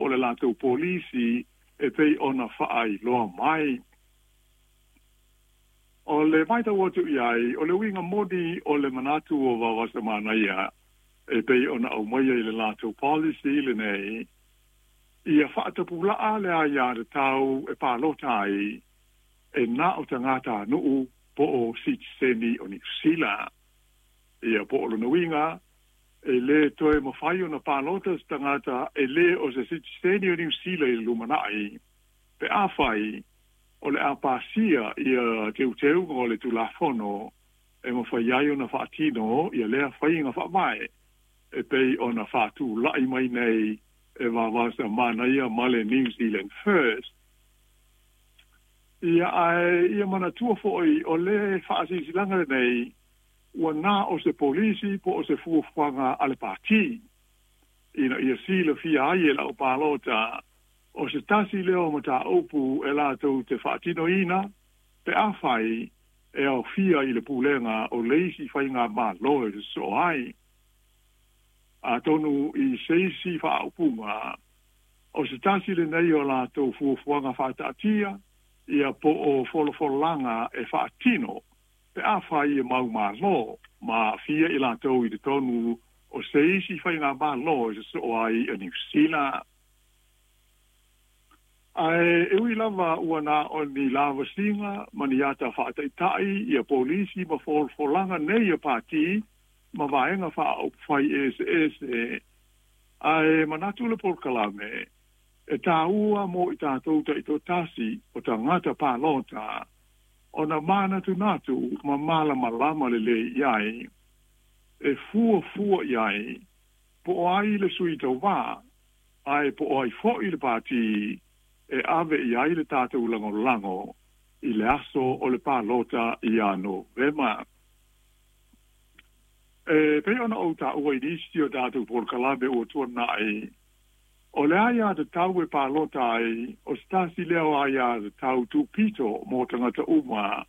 o le latou polisi e pei ona faailoa mai. O le matau atu i ai, o le uiga moni o le manatu o Vaovasamanaia e pei ona aumaia i le latou policy lenei, ia faatapulaa le aiatatau e palota ai e na o tagatanuu po o sitiseni o Niu Sila. Ia po o lona uiga, e lē toe mafai ona palota se tagata e lē o se sitiseni o Niu Sila i le lumanai pe afai o le a pasia ia teuteuga o le Tulafono e mafai ai ona faatino ia lea faiga faavae e pei ona faatulai mai nei e Vaovasamanaia ma le New Zealand First. Ia ae ia manatua foi o le faasilasilaga lenei ua na o se polisi po o se fuafuaga a le pati ina ia silafia ai e le aupalota o se tasi lea o mataupu e latou te faatinoina pe afai e aofia i le pulega o le isi faigamalo e sosoo ai. Atonu i se isi faaupuga, o se tasi lenei o latou fuafuaga faataatia ia po o folafolaga e faatino pe afai e maumalo ma aafia i latou i totonu o se isi faigamalo e sosoo ai a Niu Sila. Ae e ui lava ua na o ni lavasiga ma ni ata faataitai ia polisi ma folafolaga nei a pati ma vaega faaupufai eseese, ae manatu le polokalame e tāua mo i tatou taitoatasi o tagata palota ona manatunatu ma malamalama lelei i ai, e fuafua i ai po o ai le sui tauvā ae po o ai foi le pati e ave i ai le tatou lagolago i le aso o le palota ia Novema. E pei ona ou taua i nisi o tatou polokalame ua tuanai, o le aiatatau e palota ai o se tasi lea o aiatatau tupito mo tagata uma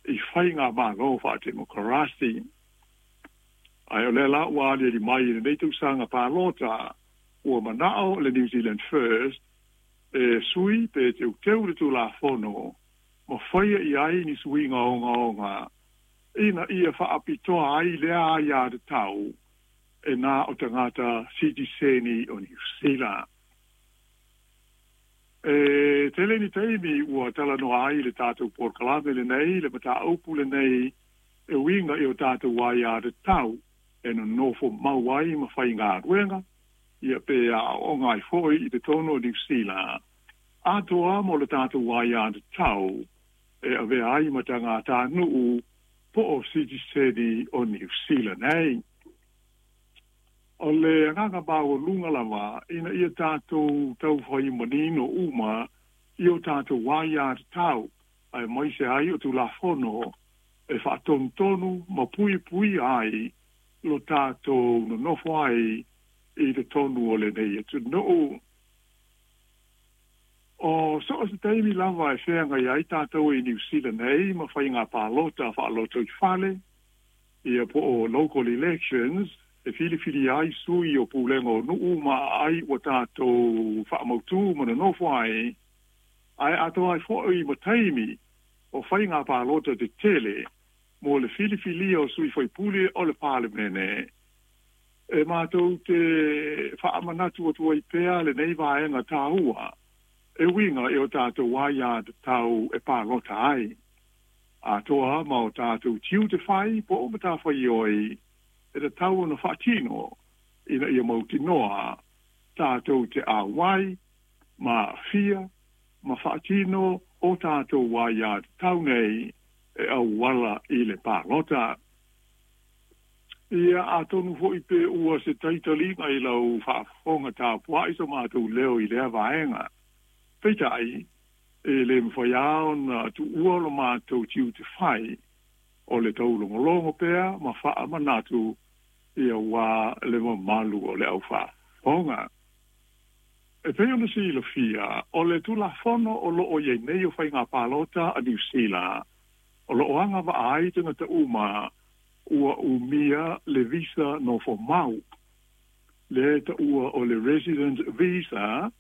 i faigamalo faatemokarasi. Ae o lea la ua aliali mai i lenei tausaga palota, ua manao le New Zealand First e sui pe teuteu le Tulafono ma faia i ai ni suiga ogaoga ina ia faapitoa ai lea aiatatau e na o tagata sitiseni o Niu Sila. E tele ni taimi ua talanoa ai le tatou polokalame lenei le mataupu lenei e uiga i o tatou aiatatau e nonofo mau ai ma faigaluega ia pe aooga ai foi i totonu o Niu Sila atoa mo le tatou aiatatau e avea ai ma tagatanuu po o sitiseni o Niu Sila nei. O le agaga maualuga lava ina ia tatou taufai manino uma i o tatou aiatatau aemaise ai o Tulafono e faatonutonu ma puipuia ai lo tatou nonofo ai i totonu o lenei atunuu. O so o se taimi lava e feagai ai tatou i Niu Sila nei ma faiga palota faalotoifale, ia po o local elections, e filifili ai sui o pulega o nuu ma aai ua tatou faamautu ma nonofo ai, ae atoa ai foi ma taimi o faiga palota tetele mo le filifilia o sui faipule o le Palemene, e matou te faamanatu atu ai pea lenei vaega taua e uiga i o tatou aiatatau e palota ai, atoa ma o tatou tiute fai po o matafaioi e tatau ona faatino ina ia mautinoa tatou te auai ma aafia ma faatino o tatou aiatatau nei e auala i le palota. Ia, atonu foi pe ua se taitaliga i lau faafofoga tapuai so matou leo i lea vaega. Peitai, e le mafai lava ona tuua lo matou tiute fai o le taulogologo pea ma faamanatu aua le mamalu o le aufaafofoga. E pei ona silafia, o le Tulafono o lo o i ai nei o Faiga Palota a Niu Sila, o lo o agavaa ai tagata uma ua umia le visa nofo mau, lea e taua o le Resident Visa.